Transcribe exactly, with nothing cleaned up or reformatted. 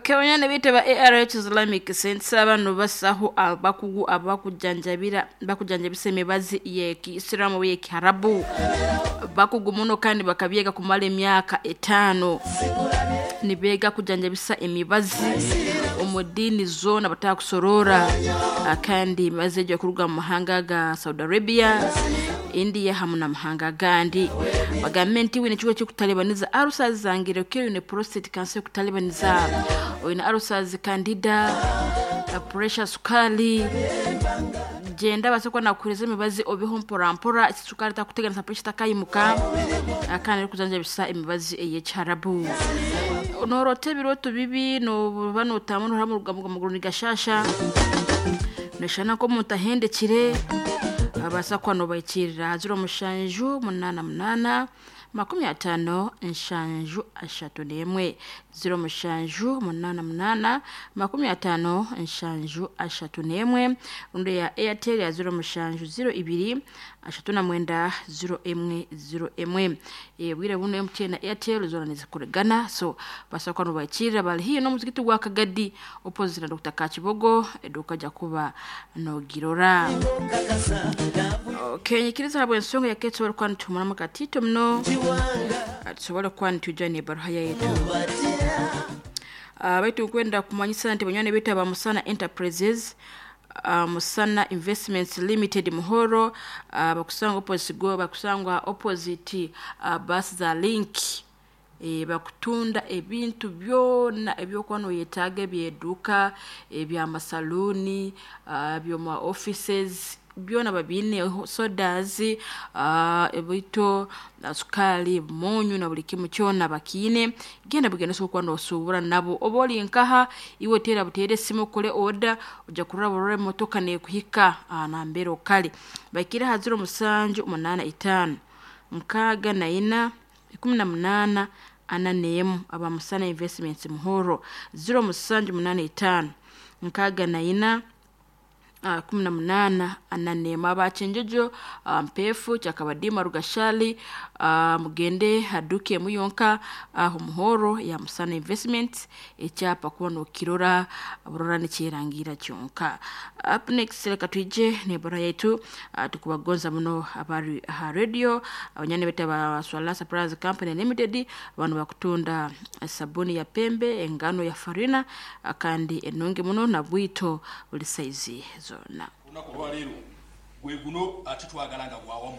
Kewanyana bita ba A R H Islamic Center bano basaho abakugu abakujanjabira bakujanjabisa emibazi y'Ekisiramu y'Ekiharabu bakugu muno kandi bakabyega kumala emyaka etaano nibeega kujanjabisa emibazi omu ddiini zoona batakusorora kandi emibazi egyo ekuruga mu mahanga ga Saudi Arabia, India hamu n'amahanga agandi. Bagambe nti wine ekigo ekikutalibaniza ulcers zangire okire oine prostate cancer ekutalibaniza oine ulcers candida, pressure, sukali genda baase kuba nakuhereza emibazi obiho mpora mpora sukali takuteganisa pressure takayimuka kandi erikujanjabisa emibazi ey'ekiharabu. Noorota ebirooto bibi nooba nootamba nohurira amaguru nigashasha noshana nk'omuntu ahendekire abaasa kuba noobahikirira ziro mushanju munaana munaana makumi ataano nshanju ashatu n'emwe ziro mushanju munaana munaana makumi ataano nshanju ashatu n'emwe rundi ya Airtel ya ziro mushanju ziro ibiri ashatu na mwenda ziro emwe ziro emwe. Bwire buno M T N na Airtel zoona nizikuregana so baasa kuba noobahikirira bari haihi n'omuzigiti gwa Kagadi opposite na Doctor Kakibogo eduuka ja kuba noogirora. Okay, nyikiriza habw'ensonga yake tusobole kuba nituhumuramu katito muno tusobole kuba nitwija n'ebaruha yaitu. Uh, baitu nkwenda kumanyisa nti banywani baitu aba Musana Enterprises, uh, Musana Investments Limited Muhoro, uh, bakusanga opposite go bakusangwa opposite uh, bus za Link e, bakutunda ebintu byona ebyokuba noyetaaga ebyeduuka ebyamasaluuni uh, byoma offices byona babiine sodas uh, ebito sukali munyu na buli kimu kyona bakiine. Genda bugenda osobola kuba nosuubura nabo oba ori nkaha iwe teera buteere esimu okore order ojja kurora burora emotoka neekuhika uh, nambere okare. Baikire aha ziro musanju munaana itaano nkaaga na ina ikumi na munaana ana n'emu aba Musana Investments Muhoro ziro musanju munaana itaano nkaaga na ina Uh, kumi na munaana ana n'emu. Abakyenjojo uh, Mpeefu Kyakabadima Rugashali uh, mugende haduka emu yonka aho uh, Muhoro ya Musana Investments ekyapa kuba nookirora burora nikyerangira kyonka. Up next reka twije n'ebara yaitu uh, tukubagonza muno abari aha radio abanyani baitu aba Swala Suppliers Company Limited abantu bakutunda sabuni ya pembe engano ya farina uh, kandi enungi muno na bwito buli saizi zona. Olunaku olwaleero gwe guno ate twagala nga gwawamu.